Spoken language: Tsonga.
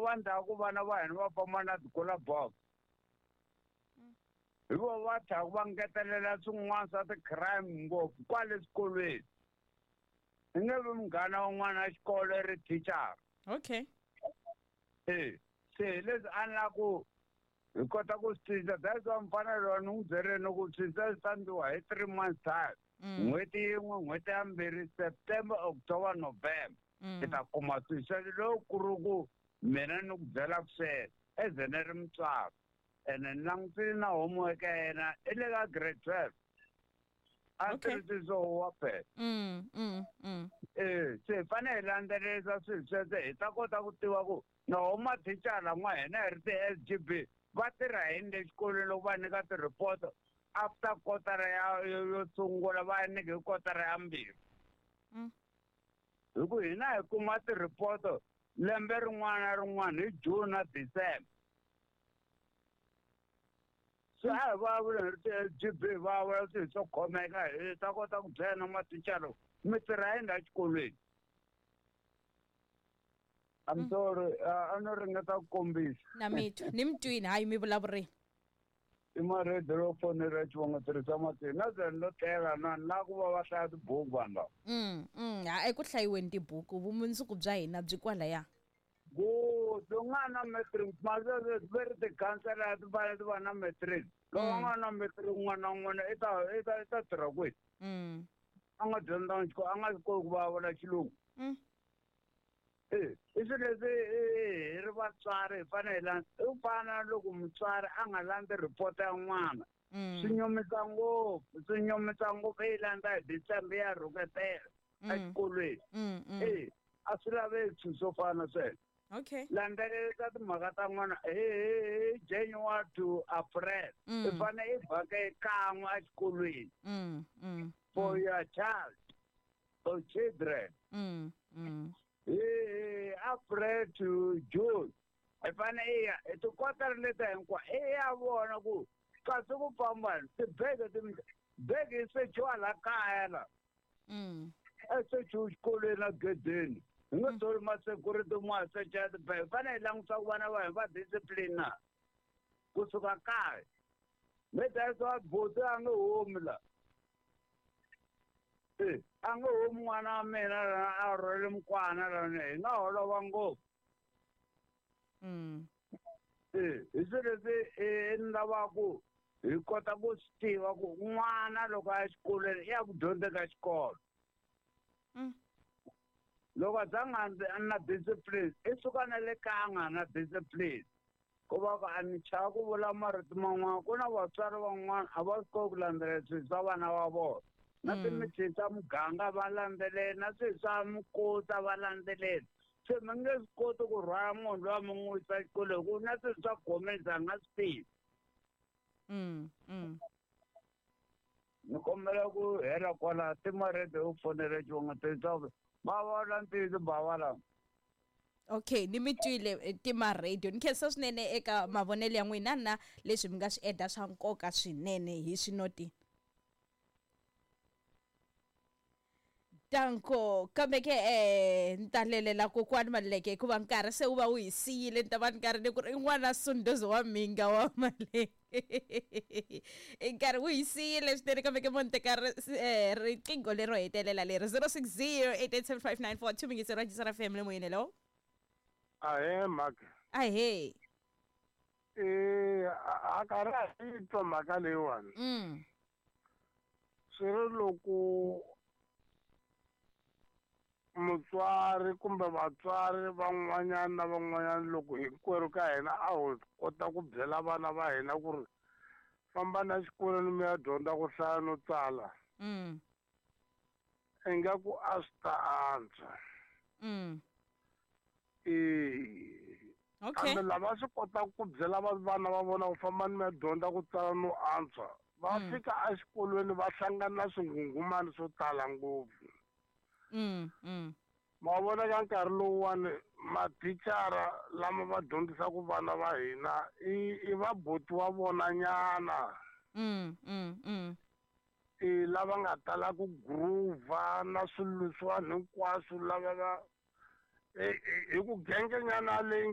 vo va ndhawu ku vana va hina va famba na ti-cooler box. Hi vo va tlhaka va ngetelela swin'wana swa ti-crime ngopfu kwale swikolweni. I nge vi munghana wa n'wana wa xikolo i ri thicara. Okay. E se hi leswi a ni la ku hi kota ku swi cinca. That's why mfanelo ni n'wi byerile ku swi swi ta endliwa hi 3 months time. N'hweti yin'we, n'hweti ya mbirhi, September, October, November. Hi ta kuma swilo sweswo loko ku ri ku mina ni ku byela ku sweswo eze ni ri mutswari ene ni langutile na homework ya yena i le ka grade 12 a tirhisi swo huwa phela. E se hi fanele hi landzelerisa swilo sweswo hi ta kota ku tiva ku na wo mathicara n'wa hina hi ri ti-SGB va tirha yini le xikolweni loko va nyika ti-report after kotara ya yo sungula, va nyika hi kotara ya mbirhi. Hi ku hina hi kuma ti-report lembe rin'wana na rin'wana hi June na December. Se a hi vulavuli hi ri ti-SGB, hi vulavula swilo swo khomeka hi ta kota ku byela na mathicara mi tirha yini la xikolweni. I'm sorry, a no ringeta ku kombisa. Na mi twa, ni mi twini, hayi mi vulavurini. I maredi ro fonela xivongo tirhisa matini na ze no tlela na ni lava ku va va hlaya tibuku vanhu lava. Ha eku hlayiweni tibuku, vumundzuku bya hina byi kwalaya. Good, u nga na matric masweswo ve ri tikhansela ti fanele ti va na matric. Loko a nga na matric, n'wana na n'wana i ta tirha kwihi? A nga dyondzanga xikolo, a nga swi koti ku vulavula xilungu. E i swilo leswi hi ri vatswari hi fanele hi landza. I ku fana na loko mutswari a nga landzi report ya n'wana. Swi nyumisa ngopfu, swi nyumisa ngopfu. I yi landza hi December ya rhuketela exikolweni. E a swi laveki swilo swo fana na sweswo. Landzelerisa timhaka ta n'wana hi January to April. I fanele i vhake kan'we exikolweni for your child or children. Hi April to June i fanele i ya hi tikotara leti hinkwayo i ya vona ku kasi ku famba tibege, bege yi sechiwa la kaya la. A sechiwi xikolweni na gedeni, hi nga tholi ma-security mo secha tibege. Fanele hi langutisa ku vana va hina va discipline na kusuka kaya. Me that's why buti a nge humi la, e a nge humi n'wana wa mina lana a rhwele mukwana lana, hi nga holova ngopfu. E hi swilo leswi ni lavaku hi kota ku swi tiva ku n'wana loko a ya xikolweni i ya ku dyondzeni ka xikolo. Loko a za nga na discipline, i suka na le kaya a nga na discipline. Ku va ku a ni chava ku vula marito man'wana, ku na vatswari van'wana a va swi koti ku landzelela swilo swa vana va vona na timithini ta muganga va landzelela na swilo swa mukota va landzelela. Se mi nge swi koti ku rhwala munhu loyi mi n'wi yisa xikolweni ku na swilo swa gomeza a nga swi tivi. Ni kombela ku hela kwala timarete u fonela xivongo tirhisa va vula ntiyiso bava lama. Okay, ni mi twile, tima radio. Ni khensa swinene eka mavonelo ya n'wina na leswi mi nga swi eda swa nkoka swinene hi swinoti. Danko, kambe ke ni ta lelela kokwani Maluleke hikuva nkarhi se wu va wu hi siyile. Ni ta va ni karhi ni ku ri i n'wana Sunduzi wa Mhinga wa Maluleke, nkarhi wu hi siyile swinene. Kambe ke mo ni teka riqingho lero hetelela leri 060 8875942 mingisero wa Jisara FM le moyeni. Hello. Ahee, mhaka. Ahee. Eh, a karhi a yi twa mhaka leyiwani. Swi ri loko mutswari kumbe vatswari van'wanyana na van'wanyana, loko hinkwerhu ka hina a ho kota ku byela vana va hina ku ri famba na xikolweni mi ya dyondza ku hlaya no tsala, ingaku a swi ta antswa. E kambe lava swi kotaka ku byela vana va vona ku famba ni mi ya dyondza ku tsala no antswa, va fika exikolweni va hlangana na swinghunghumani swo tala ngopfu. Ma vona, ka nkarhi lowuwani mathicara lama va dyondzisaka vana va hina i vabuti wa vona nyana. I lava nga tala ku groova na swilo leswiwani hinkwaswo, lava va hi ku gengenyana leyi nga